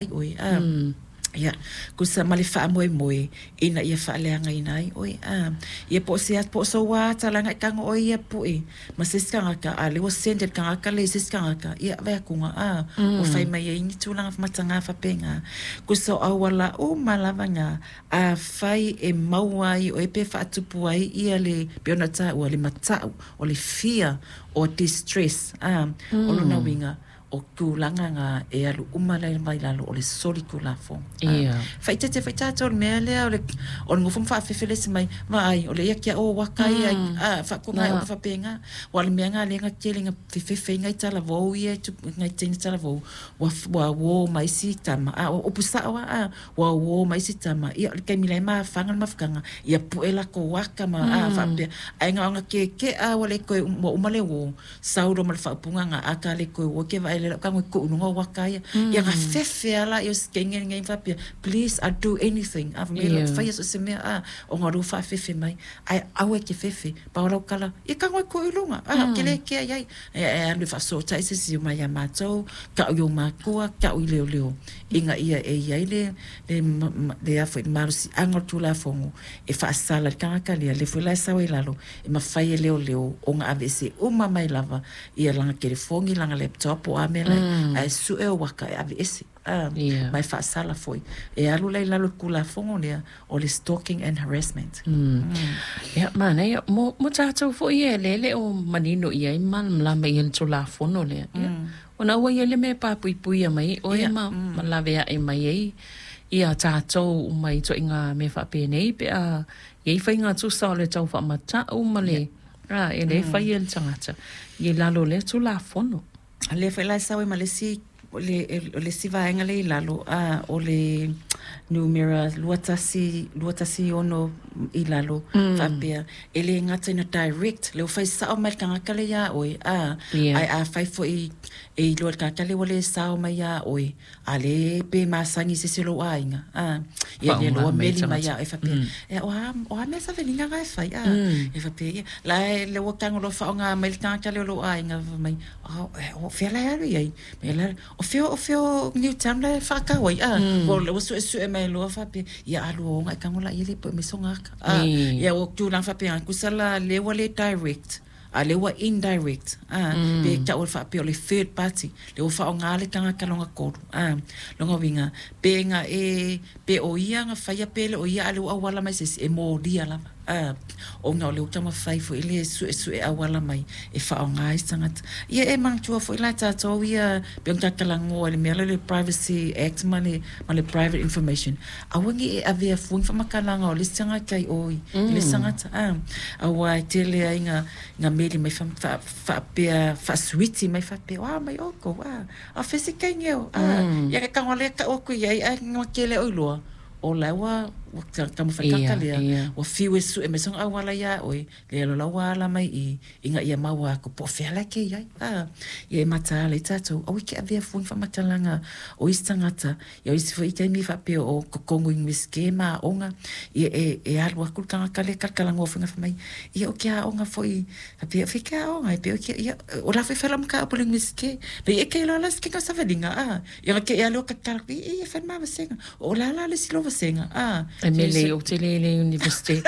Ai ʻoe, a. Ia, tusa ma le faamoemoe ina ia faaleagaina ai ʻoe, a. Ia po o se po o sou ata la e tago ʻoe ia puʻe ma se isi tagata, a lea ua send e le tagata lea i se isi tagata, ia vaeatuga, a, ua fai mai ai ni tulaga mataga faapena. Tusa o auala uma lava na, afai e maua ai ʻoe pe faatupu ai ia le, pei ona taua, le mataʻu, o le fear o distress, a, o lona uiga, o tulaga na e alu uma lava i lalo o le solitulafono. Ia. Faaeteete foi tatou i le mea lea o le o le nofo ma faafefele mai, vaai, o le ia kia o waka ia, a, faatoga e upu faapena. Aua o le mea lena lea na tele ina fefefe ai nai talavou ia, nai teine talavou, ua ua uo ma isi tama, a, o upu sao lava, a, ua uo ma isi tama, ia o le taimi la e mafaga le mafutaga, ia pue latou aka ma, a, faapea. Ae na ona tietie ua le toe, ua uma le uo, sau loa ma le faaupuga na aka le toe uo ke vaai le lau tago e tuu i luga o aka ia. Ia na fefe lava laia o si teine lenei ma faapea, please, I'll do anything. A fai mai yeah. Faia so o se mea, a, ona o lea ua faafefe mai. Ae aua e te fefe, pau lau tala, ia tago e tuu i luga, a, ou te le kea i ai. E, e alu e faafesootai se isi mai ia matou, tau i ou matua, tau i leoleo, ina ia e i ai le, le, le, a foi, le malosiaga o le Tulafono e faasala i le tagata lea, lea foi la e sau ai i lalo, e mafai e leoleo ona aveese uma mai lava ia lana telefoni, lana laptop po o a mea la, ae sue ou aka e aveese, a, ma e faasala foi. E alu la i lalo o le Tulafono lea o le Stalking and Harassment. Ia, manaia. Mo, mo tatou foi ia lea e le o manino i ai ma malamalama i ai le Tulafono lea. Ia, ona ua i ai le mea e papuipuia mai ai oe ma, ma laveae mai ai ia tatou uma i ituaiga mea faapenei pe a I ai faiga tusa o le tau faamata'u ma le, a, e le faia e le tagata i lalo o lea Tulafono. Lea foi la e sau ai ma le isi, o le, o le isi vaega lea i lalo, a, o le numera 21, 216 i lalo, faapea, e le gata ina direct, lea ua fai sao mai le tagata lea iā ʻoe, a, ae afai foi e iloa e le tagata lea ua le sao mai iā ʻoe, A lē pe masani i se isi o lou aiga, a, ia lea loa meli mai ia oe faapea, Ea, o a, o a mea savaliga na e fai, a? Ia faapea, ia, la e, lea ua tago loa faaaoga mai le tagata lea o lou aiga, fai mai, o fea la e alu i ai? Ia la, o fea, o fea o Newtown la e faatau ai, a? Ua suesue mai loa faapea, ia alu o e tago laia le pue mai sona ata, a? Ia ua tulaga faapena, tusa la lea ua le direct, A lea ua indirect, a, pe tau e faapea o le third party, lea ua faaaoga le tagata lona tolu, a. Lona uiga, pe na e, pe o ia na faia pe le o ia a lea ua auala mai se isi, e molia lava, a, ona o lea ua taumafai foi le suesue auala mai e faaaoga ai se tagata. Ia e manatua foi la e tatou ia, pei ona ta talanoa i le mea lea o le Privacy Act ma le, ma le Private Information, aua ne i e avea fua ni faamatalaga o le isi tagata i o i le isi tagata, a, aua e tele ai na, na meli mai faapea, faasuiti mai faapea, o a mai outou, a, a o fea se teine o, a, ia ke tago lea tau atu i ai, ae na tele oi loa, o la ua, ua taumafai tagata lea, ua fiu e sue mai sona auala iā ʻoe, lea loa la ua ala mai i i, ina ia maua atu po o fea la e te i ai, a, ia e mataala ai tatou, aua e te avea fua ni faamatalaga o isi tagata. Ia o isi foi taimi faapea o totonu i Iunivesite ma aoga, ia e, e alu atu le tagata lea talatalanoa foi fai mai, ia o ke aoga foi, faapea, o fea ke aoga, e pei o ke, ia, o la foi e fai lau mataupu i le Iunivesite. Pei e te iloa la se keka o savaliga, a, ia na te i a lea o tatala atu, ia, ia, fai le ma vasega. O la la le isi lou vasega, a. E mele i ou te le i le Iunivesite.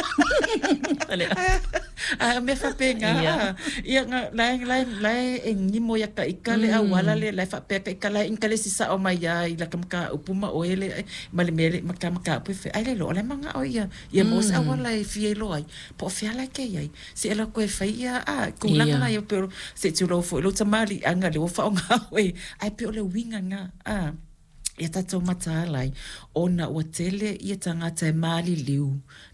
A mea faapena, a, ia, na, la e, la e, la e nimo ia ka ika le auala lea, la e faapea ka ika la e inkalesi sao mai lava i lata mataupu ma oe le, ma le mea le, ma ta mataupu e fai, ai le iloa o la e manao ia, ia maua se auala e fia iloa ai, po o fea la e te i ai. Se i alu atu e fai ia, a, tulaga la ia pei o, se i tulou foi lou tamaliiaga lea ua faaaoga oe, ae pei o le uiga lena, a. Ia tatou mataala ai, ona ua tele ia tagata e maliliu,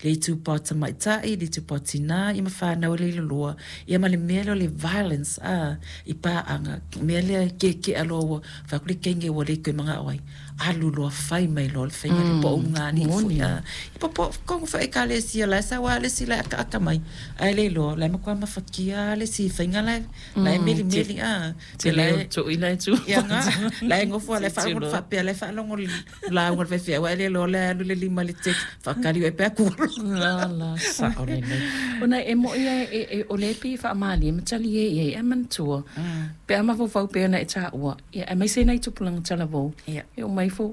le itupa o tamaitai, le itupa o tinā, ia ma whānau e leila loa, ia ma le mea lea o le violence, a, i pāaga, mea lea e kēkēa loa ua fai atu le teine ua le toe manao ai, alu loa fai mai loa le faiga lea, po o ulugalii foi, a, ia po, po, kohu foi ekalesia la e sau lava le isi la e akaaka mai, ae le iloa, o la e matua mafatia lava le isi faiga la e, la e melimeli, a. Te leo tu i lai tu. Ia nga, la e ngofo la e faalogo faapea, la e faalogo lauga le faifeau, ae le iloa le alu le lima i le text, faakali oe pe aku. La la sao lelei. Ona e mo'i a e, e, o lea e pei e faamalie ma talie i ai, ae manatua, pe a mafaufau pei ona e taua, ia aemaise nai tupulaga talavou, e omai fo.